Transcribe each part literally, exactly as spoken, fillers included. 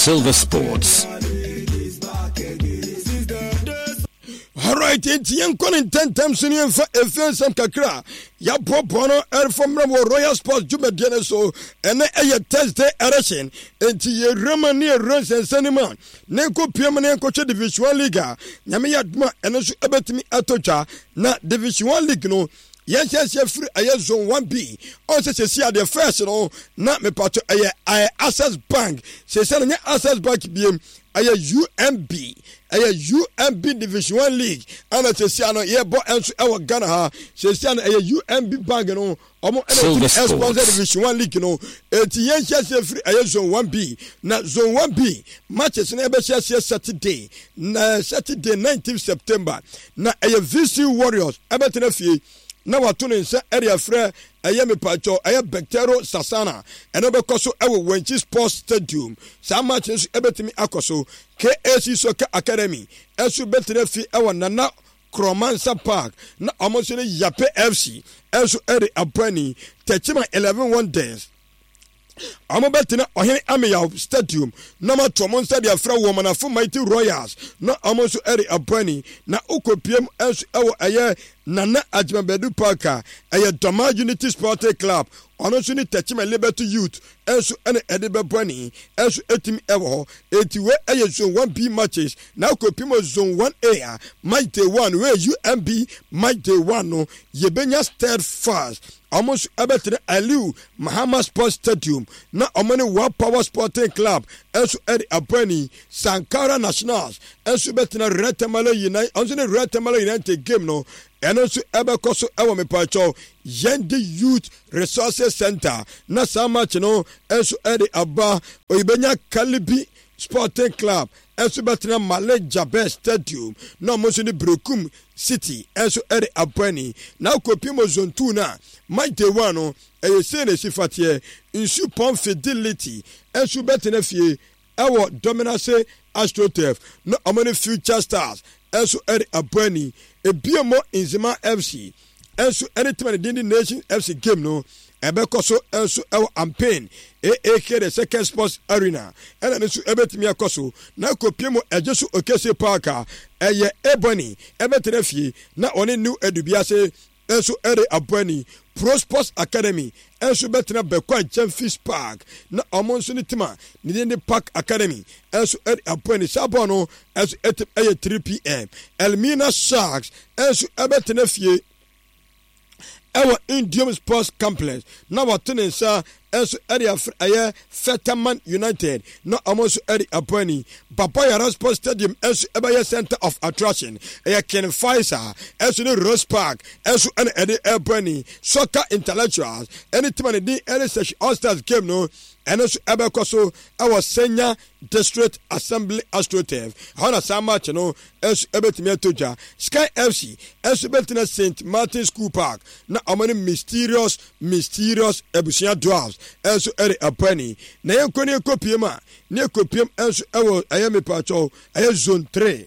Silver Sports. Alright, nti yɛnkɔ ne ntɛntɛm so ne yɛmfa ɛfie nsɛm kakra yɛaboaboa no ɛrefa mmerɛ wɔ Royal Sports dwumadie no so. Ɛnɛ ɛyɛ Thursday edition, nti yɛwura mu ne yɛwura nsɛnsɛn no mu a ne nkɔ pie mu ne yɛnkɔhwɛ Division one League a Nyame yɛ adom a ɛno nso ɛbɛtumi atɔ dwa. Na Division one League no yɛnhyɛnseɛ firi ɛyɛ Zone one B. Ɔn sɛ sɛsi adeɛ first no na mepatɔ ɛyɛ ɛyɛ Access Bank, sɛsi no nyɛ Access Bank biem, ɛyɛ U M B, ɛyɛ U M B Division one League ɛna sɛsi ano yɛbɔ ɛnso ɛwɔ Ghana ha. Sɛsi ano ɛyɛ U M B Bank no ɔmo ɛna Silver ɛtumi ɛsponsor Sports. Division one League no. Eti yɛnhyɛnseɛ firi ɛyɛ Zone one B, na Zone one B matches no ɛbɛhyɛ Saturday, na Saturday nineteen September na ɛyɛ V C Warriors ɛbɛtena fie na wato ne nsa ɛde afrɛ ɛyɛ mepatwɔ ɛyɛ Bɛtɛro Sasana. Ɛno bɛkɔ so ɛwɔ Wankyi Sports Stadium. Saa match nso ɛbɛtumi akɔ so. K A C Soccer Academy ɛnso bɛtena fi ɛwɔ Nana Kromansa Park na ɔmo nso ne Yape F C ɛnso ɛde abɔani. Tɛkyima Eleven Wonders ɔmo bɛtena Ɔhene Ameyaw Stadium na ɔmo ato ɔmo nsa de afrɛ Wɔmanafo Mighty Royals na ɔmo nso ɛde abɔani. Na okopiem nso ɛwɔ ɛyɛ Nana Agyemabadu Park a ɛyɛ Dɔma Unity Sporting Club, ɔno nso ne Tɛkyima Liberty Youth nso ɛna ɛde bɛbɔ ani nso ɛtumi ɛwɔ hɔ. Eti wei ɛyɛ Zone one B matches. Na okopiem wɔ Zone one A a match day one wei U M B match day one no yɛbɛnya Steadfast, ɔmo nso ɛbɛtena Aliu Mahama Sports Stadium na ɔmo ne Wa Power Sporting Club nso ɛde abɔ. Sankara Nationals nso bɛtena Real Tamale United, ɔnso ne Real Tamale United game no ɛno nso ɛbɛkɔ so ɛwɔ mepatwɛw Yɛnde Youth Resources Center na saa match no nso ɛde aba. Oyibɛnya Kalibi Sporting Club nso bɛtena Male Jabɛ Stadium na ɔmo nso ne Brekum City nso ɛde abɔ ani. Na akɔpiem wɔ Zone two no a match day one no ɛyɛ sei na esi fateɛ. Nsu Pɔn Fidelity nso bɛtena fie ɛwɔ Dominase AstroTurf na ɔmo ne Future Stars nso ɛde abɔ ani. Ebiem Nzema F C nso ɛne team a ne din de Nation F C game no ɛbɛkɔ so nso ɛwɔ Ampain A A K the Second Sports Arena ɛna no nso ɛbɛtumi akɔ so. Na akɔpie mu ɛgye so Okese Park a ɛyɛ Ebony ɛbɛtena fie na ɔne New Adubiase nso ɛde abɔ ani. Pro Sports Academy nso bɛtena Bɛkɔ Agyamfis Park na ɔmo nso ne team a ne din de Park Academy nso ɛde abɔ ani. Saa bɔɔl no nso ɛtɛ ɛyɛ three p m. Elmina Sharks nso ɛbɛtena fie ɛwɔ Indium Sports Complex na wɔto ne nsa nso ɛde afrɛ ɛyɛ Fetaman United na ɔmo nso ɛde abɔ ani. Baba Yara Sports Stadium nso ɛbɛyɛ center of attraction. Ɛyɛ Ken Faisal ɛnso ne Rose Park ɛnso ɛna ɛde ɛbɔ ani. Soccer Intellectuals ɛne team a ne din ɛne Sɛhwi All Stars game no ɛno nso ɛbɛkɔ so ɛwɔ Senya District Assembly AstroTurf ɛhɔ na saa match no nso ɛbɛtumi ato dwa. Sky F C nso bɛtena Saint Martin School Park na ɔmo ne Mysterious Mysterious Abusua Dwarfs nso ɛde abɔ ani. Na yɛnkɔ ne yɛkɔ a ne yɛkɔ nso ɛwɔ ɛyɛ mepatwɛw ɛyɛ Zone three,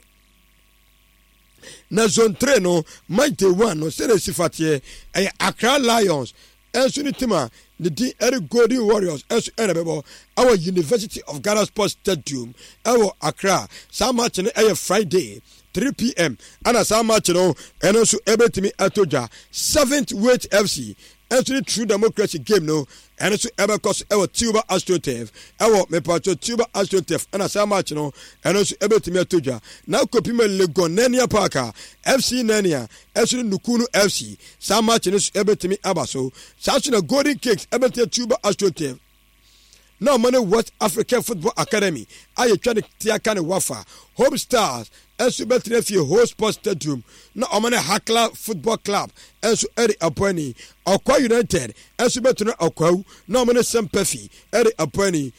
na Zone three no match day one no sɛdeɛ esi fateɛ ɛyɛ Accra Lions ɛnso ne team a ne din ɛde Golden Warriors ɛnso ɛna bɛbɔ ɛwɔ University of Ghana Sports Stadium ɛwɔ Accra. Saa match no ɛyɛ Friday three p m ɛna saa match no ɛno nso ɛbɛtumi ɛtɔ dwa. Seventh Weight F C ɛnso ne True Democracy game no ɛno nso ɛbɛkɔ so ɛwɔ Tuba AstroTurf, ɛwɔ mepatɔ Tuba AstroTurf ɛna saa match no ɛno nso ɛbɛtumi ɛtɔ dwa. Na akɔpi ma Legon Nania Park a F C Nania ɛnso ne Nukunu F C, saa match no nso ɛbɛtumi aba so. Saa nso na Golden Cakes ɛbɛtumi Tuba AstroTurf na ɔmo ne West African Football Academy a yɛtwa ne tia ka ne Wafa. Home Stars ɛnso bɛtena fie Ho Sports Stadium na ɔmo ne Hakla Football Club ɛnso ɛde abɔ ani. Ɔkwa United ɛnso bɛtena Ɔkwawu na ɔmo ne Sɛmpɛfi ɛde abɔ ani.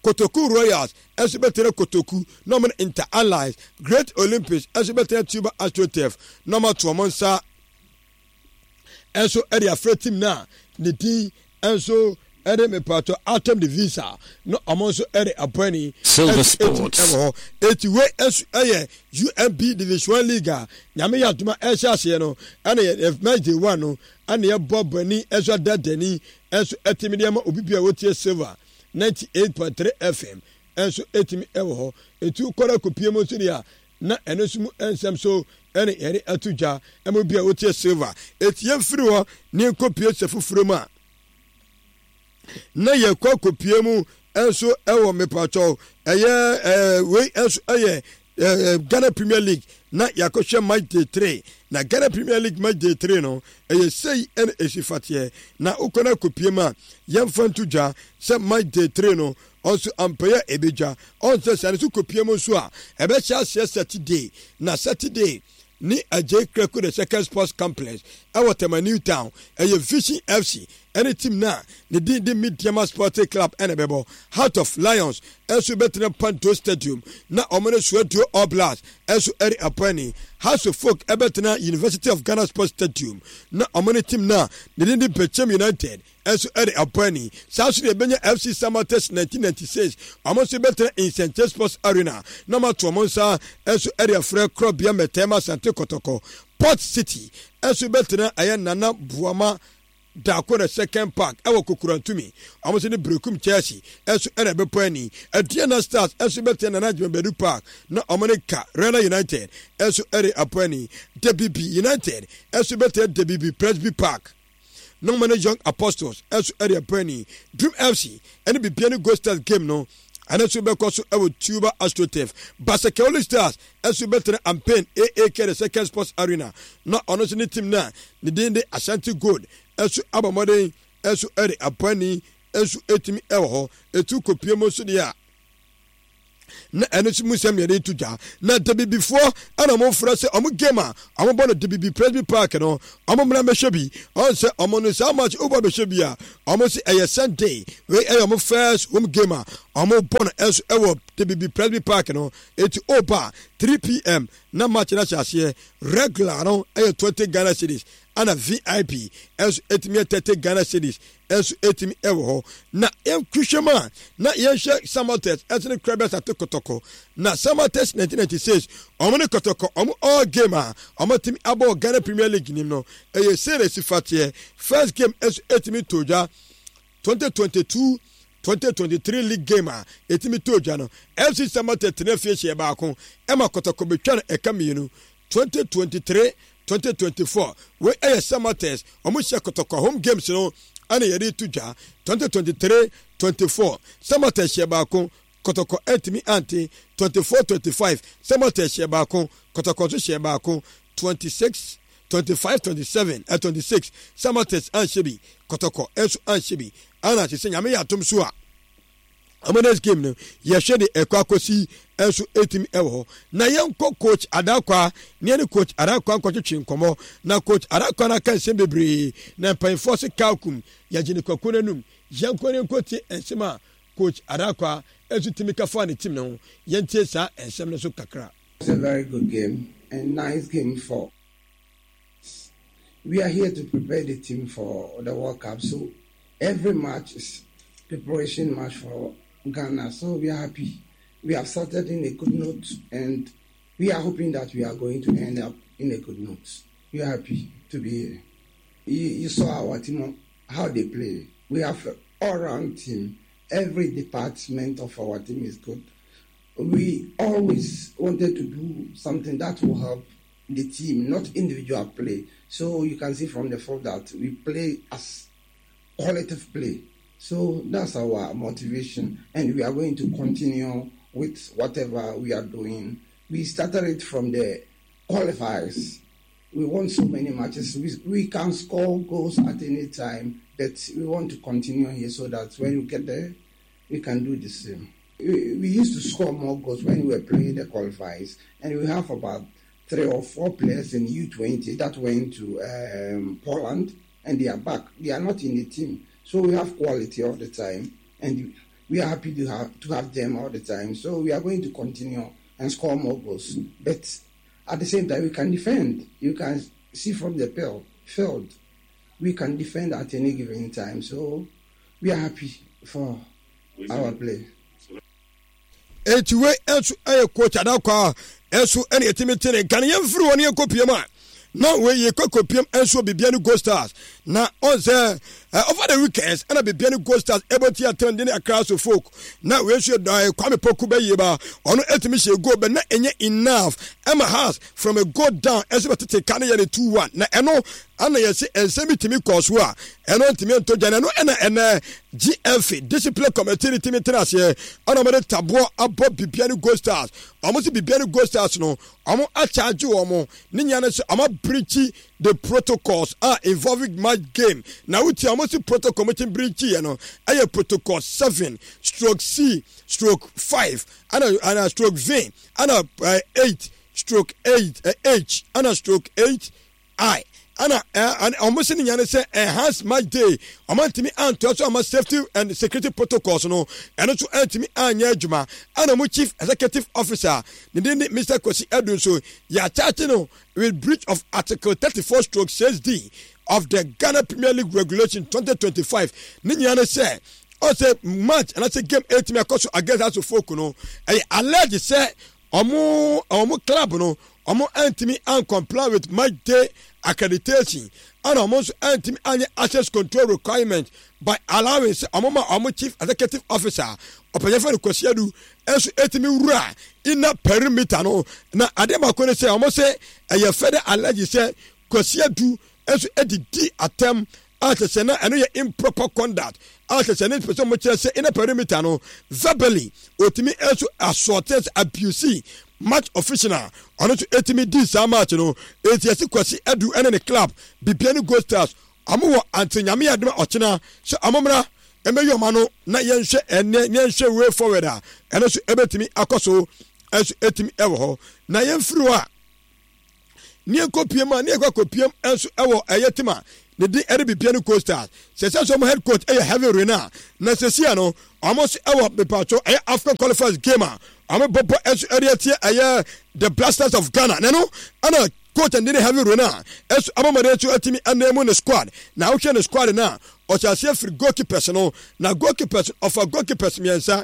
Kotoku Royals ɛnso bɛtena Kotoku na ɔmo ne Inter Allies. Great Olympics ɛnso bɛtena Tuba AstroTurf na ɔmo ato ɔmo nsa ɛnso ɛde afrɛ team na ne din ɛnso ɛde mepatɔ Atom de Visa na ɔmo nso ɛde abɔ ani. Silver Sports. Ɛwɔ hɔ. Eti wei ɛnso ɛyɛ U M B Division one League a Nyame yɛ adoma ɛhyɛ aseɛ no ɛna yɛ match day one no ɛna yɛbɔ bɔni ɛnso adadani ɛnso ɛtumi de ama obi bi a wotie Silver ninety eight point three F M. Ɛnso ɛtumi ɛwɔ hɔ etu kɔrɔ kopie mu nso deɛ a na ɛno nso mu nsɛm so ɛne yɛde ato dwa ɛmo bi a wotie Silver. Eti yɛmfiri hɔ ne nkɔpie sɛ foforɔ mu a na yɛkɔ akɔpie mu nso ɛwɔ mepatwɔw ɛyɛ ɛɛ wei nso ɛyɛ ɛɛ Ghana Premier League na yɛakɔhwɛ match day three. Na Ghana Premier League match day three no ɛyɛ sei ɛna esi fateɛ na wokɔ no akɔpie mu a yɛmfa nto dwa sɛ match day three no ɔnso ampɛyɛ ebedwa ɔnsɛ sɛ ɛno nso kɔpie mu nso a ɛbɛhyɛ aseɛ Saturday. Na Saturday ne Agye Krako the Second Sports Complex ɛwɔ Tema New Town, ɛyɛ Vision F C ɛne team na ne din de Medeama Sporting Club ɛna ɛbɛbɔ. Heart of Lions ɛnso bɛtena Panto Stadium na ɔmo ne Swedru All Blacks ɛnso ɛre apɔani. Hearts of Oak ɛbɛtena University of Ghana Sports Stadium na ɔmo ne team na ne din de Bechem United ɛnso ɛde apɔani. Saa nso deɛ ɛbɛnya F C Samartex nineteen ninety-six, ɔmo nso bɛtena Nsenkyire Sports Arena na ɔmo ato ɔmo nsa ɛnso ɛde afrɛ Korɔbea Mɛtɛɛma Asante Kɔtɔkɔ. Port City ɛnso bɛtena ɛyɛ Nana Buama Daako na Second Park ɛwɔ Kokurantumi, ɔmo nso ne Berekum Chelsea ɛnso ɛna ɛbɛpɔ ani. Aduana Stars ɛnso bɛtena Nana Adwumabadu Park na ɔmo ne Karela United ɛnso ɛde apɔ ani. Debibi United ɛnso bɛtena Debibi Presby Park na ɔmo ne Young Apostles ɛnso ɛde apɔ ani. Dream F C ɛne Bibiani Gold Stars game no ɛno nso bɛkɔ so ɛwɔ Tuba AstroTurf. Basake Holy Stars ɛnso bɛtena Ampain A A K the Second Sports Arena na ɔno nso ne team na ne din de Ashanti Gold ɛnso abɔ mmɔden ɛnso ɛde apɔ ɛnso ɛtumi ɛwɔ hɔ. Etu kopie mu nso deɛ a na ɛno nso mu nsɛm yɛde to dwa na Dabibifoɔ ɛna ɔmo frɛ sɛ ɔmo game a ɔmo bɔ no Dabibi Presby Park no, ɔmo mmra mbɛhwɛ bi. Ɔn sɛ ɔmo no saa match wobɔ bɛhwɛ bi a ɔmo sɛ ɛyɛ Sunday. Wei ɛyɛ ɔmo first home game a ɔmo bɔ no ɛnso ɛwɔ Dabibi Presby Park no. Eti ɔba three p m na match no ahyɛ aseɛ. Regular no ɛyɛ twenty Ghana cedis ɛna V I P ɛnso ɛtumi yɛ thirty Ghana cedis ɛnso ɛtumi ɛwɔ hɔ. Na yɛnhwehwɛ mu a na yɛnhwɛ Samartex ɛnso ne Krɛbɛs ate Kɔtɔkɔ. Na Samartex nineteen ninety-six ɔmo ne Kɔtɔkɔ ɔmo all game a ɔmo tumi abɔ Ghana Premier League nim no ɛyɛ sei na esi fateɛ. First game ɛnso ɛtumi to dwa twenty twenty-two twenty twenty-three league game a ɛtumi to dwa no, F C Samartex tena fie hyɛ baako ɛma Kɔtɔkɔ betwa no ɛka mmienu. twenty twenty-three twenty twenty-four wei ɛyɛ Samartex ɔmo hyɛ Kɔtɔkɔ home games no ɛna yɛde to dwa. twenty twenty-three twenty-four Samartex hyɛ baako, Kɔtɔkɔ ɛntumi ante. twenty-four twenty-five Samartex hyɛ baako, Kɔtɔkɔ nso hyɛ baako. twenty-six twenty-five twenty-seven ɛ twenty-six Samartex anhyɛ bi, Kɔtɔkɔ ɛnso anhyɛ bi. Ɛna kyerɛ sɛ Nyame yɛ atom so a ɔmo next game no yɛhwɛ de ɛkɔ akɔsi ɛnso ɛtumi ɛwɔ hɔ. Na yɛnkɔ Coach Adakwa ne yɛne Coach Adakwa nkɔtwetwe nkɔmmɔ. Na Coach Adakwa no aka nsɛm bebree na mpanyinfoɔ se kalkum yɛgye ne kwakuo n'anum. Yɛnkɔ ne nkɔtie nsɛm a Coach Adakwa ɛnso tumi ka fa ne team no ho. Yɛntie saa nsɛm no so kakra. It's a very good game and nice game for. We are here to prepare the team for the World Cup. So every match is preparation match for Ghana. So we are happy. We have started in a good note and we are hoping that we are going to end up in a good note. We are happy to be here. You, you saw our team, how they play. We have an all-round team. Every department of our team is good. We always wanted to do something that will help the team, not individual play. So you can see from the fact that we play as collective play. So that's our motivation, and we are going to continue with whatever we are doing. We started it from the qualifiers. We won so many matches. We, we can score goals at any time, but we want to continue here so that when we get there, we can do the same. We, we used to score more goals when we were playing the qualifiers, and we have about three or four players in U twenty that went to um, Poland, and they are back. They are not in the team. So we have quality all the time, and we are happy to have to have them all the time. So we are going to continue and score more goals. But at the same time, we can defend. You can see from the field, we can defend at any given time. So we are happy for our play. Eti wei nso ɛyɛ Coach Adakwa ɛnso ɛna yɛtumi te ne nka no. Yɛmfiri hɔ ne yɛnkɔ piem a na wei yɛkɔ kɔpiem nso Bibiani Gold Stars na ɔn sɛ uh, over the weekends ɛna Bibiani Gold Stars ɛbɛti atɛn de ne Accra Hearts of Oak na wei nso yɛ Kwame Poku bɛyie ba, ɔno ɛtumi hyɛ goal bɛ na ɛnyɛ enough ɛma Hearts from a goal down ɛsɛ bɛtete ka ne yɛ ne two one. Na ɛno ana yɛsɛ nsɛm bi tumi kɔɔ so a ɛno ntumi ntɔ gya. Na ɛno ɛna ɛnɛ G F A discipline committee ne tumi tena aseɛ ɛna wɔde taboɔ abɔ Bibiani Gold Stars. Wɔn sɛ Bibiani Gold Stars no, wɔn akyagye wɔn ne nyinaa no sɛ wɔn abreach the protocols a involving match game. Na wotia wɔn si protocol mo ti breach yɛ no ɛyɛ protocol seven stroke C stroke five ɛna ɛna stroke V ɛna eight stroke eight H ɛna stroke eight I. Ɛna ɔmo si ne nyane sɛ enhance match day ɔmo ntumi antoa so ama safety and security protocols no, ɛno nso antumi anyɛ adwuma. Ɛna ɔmo chief executive officer ne din ne Mister Kwasi Adu nso yɛakyakye no with breach of article thirty four stroke six D of the Ghana Premier League Regulation twenty twenty five. Ne nyinaa ne sɛ ɔsɛ match anaasɛ game ɛtumi akɔ so against Hearts of Oak no, ɛyɛ alleged sɛ ɔmo ɔmo club no, ɔmo antumi ancomply with match day accreditation, ɛna ɔmo nso antumi anyɛ access control requirement by allowing sɛ ɔmo ma ɔmo chief executive officer ɔpɛnyɛfɛ no Kwasi Adu ɛnso etumi wura inner perimeter no. Na adeɛ baako ne sɛ ɔmo sɛ ɛyɛ further alleged sɛ Kwasi Adu ɛnso edidi atɛm a kyerɛ sɛ na ɛno yɛ improper conduct a kyerɛ sɛ ne pɛ sɛ ɔmo kyerɛ sɛ inner perimeter no verbally otumi ɛnso assault, abuse match official a ɔno nso etumi di saa match no. Eti ɛsi Kwasi Adu ɛne ne club Bibiani Gold Stars, ɔmo wɔ ante Nyame adum ɔkyena sɛ ɔmo mmra ɛmɛyi ɔmo ano na yɛnhwɛ ɛnɛ yɛnhwɛ way forward a ɛno nso ɛbɛtumi akɔ so ɛnso ɛtumi ɛwɔ hɔ. Na yɛmfiri hɔ a ne yɛnkɔ mu a ne yɛkɔ akɔpiem nso ɛwɔ ɛyɛ team a ne din ɛde Bibiani Gold Stars. Sɛ sɛ sɛ ɔmo head coach ɛyɛ Herve Renard, na sɛsia no ɔmo nso ɛwɔ mipatwo ɛyɛ AFCON qualifiers game a ɔmo bɔbɔ ɛnso ɛde atie ɛyɛ the Black Stars of Ghana. Na no ɛna coach ɛde ne Herve Renard ɛnso abɔmɔden nso ɛtumi ɛnam mu ne squad. Na ahohwɛ ne squad na ɔhyɛ aseɛ firi goalkeepers no, na goalkeepers ɔfa goalkeepers mmiɛnsa: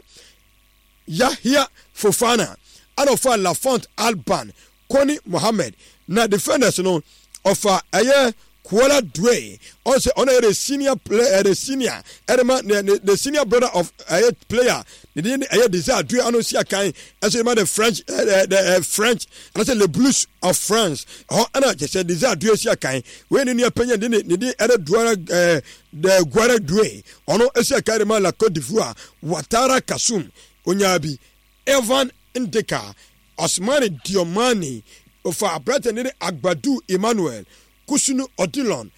Yahia Fofana, ɛna ɔfa Lafont Alban, Koni Mohammed. Na defenders no, ɔfa ɛyɛ Kuala Due, ɔsɛ ɔno yɛ the senior player, the senior ɛde ma ne ne the senior brother of ɛyɛ player ne din ɛyɛ Desire Due, ano si akan ɛso de ma the French ɛɛ the French anaasɛ Le Blues of France ɛhɔ. Ɛna kyɛ sɛ Desire Due si akan wei ne nua panyin de ne ne din ɛde Duara ɛɛ the Guara Due, ɔno esi akan de ma la Cote d'Ivoire. Watara Kasum onyaa Evan Ndeka, Osmani Diomani, ofa aberante ne de Agbadu Emmanuel, Kusunu Odilon,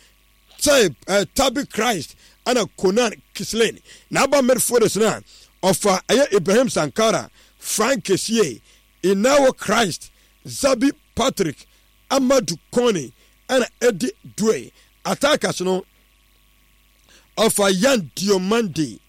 Taib uh, Tabi Christ, ɛna Konan Kislin. Na aba midfielders no a, ɔfa ɛyɛ Ibrahim Sankara, Frank Kesie, Inawo Christ, Zabi Patrick, Amadu Kone, ɛna Edi Due. Attackers no, ɔfa Yan Diomande,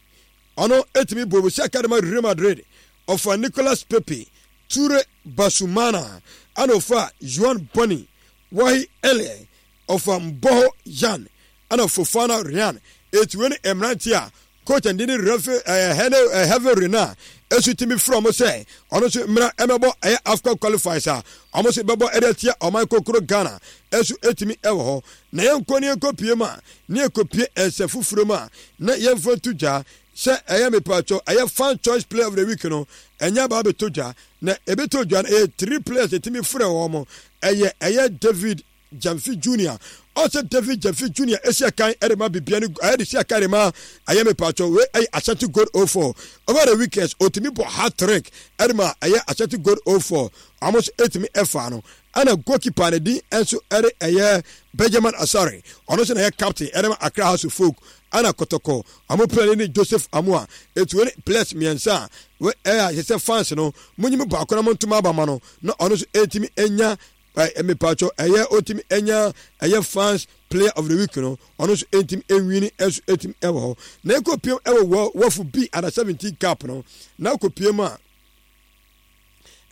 ɔno etumi bɔ Borussia Academy Real Madrid, ɔfa Nicolas Pepe, Ture Basumana, ɛna ɔfa Juan Boni, Wahi Ele, ɔfa Mbɔhɔ Yan, ɛna Fofana Ryan. Eti wei ne mmeranteɛ a coach ndi ne refe ɛɛ hɛne Herve Renard esu timi frɛ ɔmo sɛ ɔno nso mmira ɛmɛbɔ ɛyɛ AFCON qualifiers a ɔmo nso bɛbɔ ɛde atia ɔman kokoro Ghana ɛso etimi ɛwɔ hɔ. Na yɛn nkɔ ne yɛn kɔ pie mu a ne yɛn kɔ pie ɛnsɛ foforɔ mu a na yɛn fa nto dwa sɛ ɛyɛ mipatwɔ ɛyɛ Fan Choice Player of the Week no ɛnyɛ aba abɛtɔ dwa. Na ebɛtɔ dwa no, ɛyɛ three players etimi frɛ wɔn. Ɛyɛ ɛyɛ David Jamfi Junior, ɔsɛ David Jamfi Junior esi akan ɛde ma Bibiani, ɛyɛ de si akan de ma ɛyɛ mipatwɔ wei ɛyɛ Ashanti Gold oh four. Over the weekends otumi bɔ hat trick ɛde ma ɛyɛ Ashanti Gold oh four, ɔmo nso etumi ɛfa no. Ɛna goalkeeper ne din nso ɛde ɛyɛ Benjamin Asare, ɔno nso na ɛyɛ captain ɛde ma Accra Hearts of Oak. Ɛna Kɔtɔkɔ ɔmo player ne Joseph Amoa. Etu wei ne players mmiɛnsa a wei ɛyɛ a yɛsɛ fans no mo nyimi baako na mo ntoma aba ma no na ɔno nso etumi enya ɛ mipatwɔ ɛyɛ otumi enya ɛyɛ fans player of the week no, ɔno nso etumi enwini ɛnso etumi ɛwɔ hɔ. Na ekɔ piem ɛwɔ wɔ WAFU B under seventeen cup no, na ekɔ piem a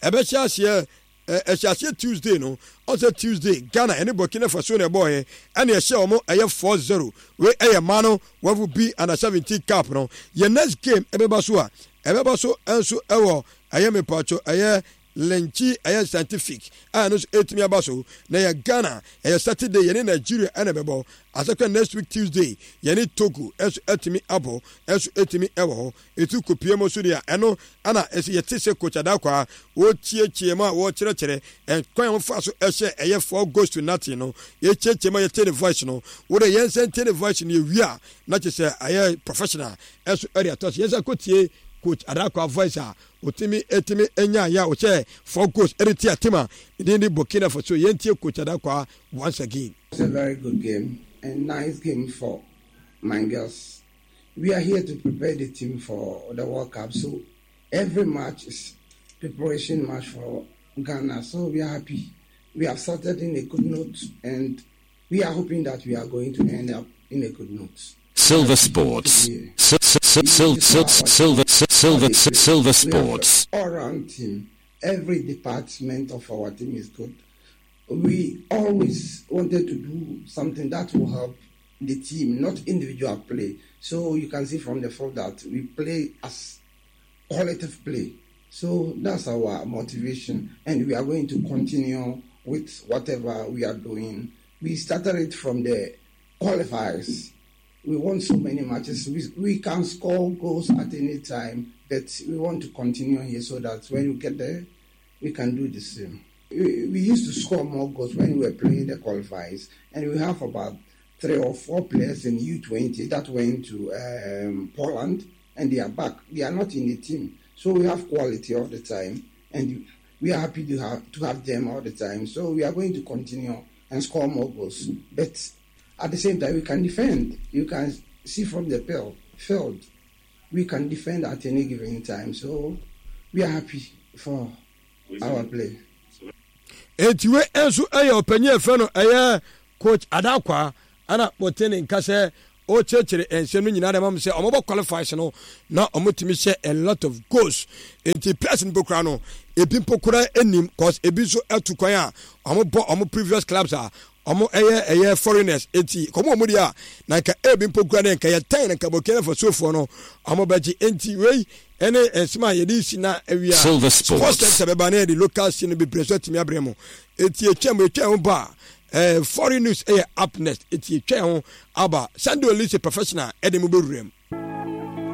ɛbɛhyɛ aseɛ ɛhyɛ aseɛ Tuesday no. Ɔsɛ Tuesday Ghana ɛne Burkina Faso na ɛbɔɔyɛ, ɛne ɛhyɛ wɔn ɛyɛ four zero. Wei ɛyɛ mmaa no WAFU B under seventeen cup no. Yɛ next game ɛbɛba so a ɛbɛba so nso ɛwɔ ɛyɛ mipatwɔ ɛyɛ Lenkyi ɛyɛ Scientific a ɛno nso ɛtumi aba so. Na yɛ Ghana, ɛyɛ Saturday yɛne Nigeria ɛna ɛbɛbɔ. Asɛkɔ next week Tuesday yɛne Togo ɛnso ɛtumi abɔ, ɛnso ɛtumi ɛwɔ hɔ. Ɛtu kopie mu nso deɛ, ɛno ɛna ɛsɛ yɛte sɛ Coach Adakwa wɔkyiakyia mu a wɔkyerɛkyerɛ ɛkwan a wɔfa so ɛhyɛ ɛyɛ four goals to nothing no. Yɛkyiakyia mu a yɛte ne voice no, wode yɛn nsa ntie ne voice no. Yɛwie a, na kyerɛ sɛ ɛyɛ professional ɛnso ɛde atɔ so. Yɛn nsa kɔtie Coach Adakwa voice a otimi etimi enya yɛ a ɔhyɛ four goals ɛde ti atim a ne din de Burkina Faso. Yɛntie Coach Adakwa once again. It's a very good game and nice game for my girls. We are here to prepare the team for the World Cup. So every match is preparation match for Ghana. So we are happy. We have started in a good note and we are hoping that we are going to end up in a good note. Silver Sports. Silver, silver, silver, silver Sports. All round team. Every department of our team is good. We always wanted to do something that will help the team, not individual play. So you can see from the fact that we play as collective play. So that's our motivation, and we are going to continue with whatever we are doing. We started it from the qualifiers. We won so many matches. We, we can score goals at any time, but we want to continue here so that when we get there, we can do the same. We, we used to score more goals when we were playing the qualifiers, and we have about three or four players in U twenty that went to um, Poland, and they are back. They are not in the team. So we have quality all the time, and we are happy to have, to have them all the time. So we are going to continue and score more goals. But at the same time, we can defend. You can see from the field, we can defend at any given time. So we are happy for our play. Eti wei nso yɛ ɔpanyin ɛfɛ no ɛyɛ Coach Adakwa, ɛna wɔte ne nka sɛ ɔkyerɛkyerɛ nsɛm no nyinaa dɛm am sɛ ɔmɔbɔ qualifiers no na ɔmotumi hyɛ a lot of goals, nti players no mpo no ebi mpo kora anim, cause ebi nso atu kwan a ɔmo bɔ ɔmo previous clubs a ɔmo ɛyɛ ɛyɛ foreigners. Eti kɔmo ɔmo deɛ a na nka ebi mpo kura ne nka yɛ tan na nka Burkina Fasofoɔ no ɔmo bɛgye. Nti wei ɛne nsɛm a yɛde si na awia. Silver Sports Sports. Center bɛba ne yɛde local scene no bebree so atumi abrɛ mu. Eti etwa mu etwa ho ba a, ɛɛ foreign news ɛyɛ up next. Eti etwa ho aba, Sunday Olise professional ɛde mu bɛwura mu.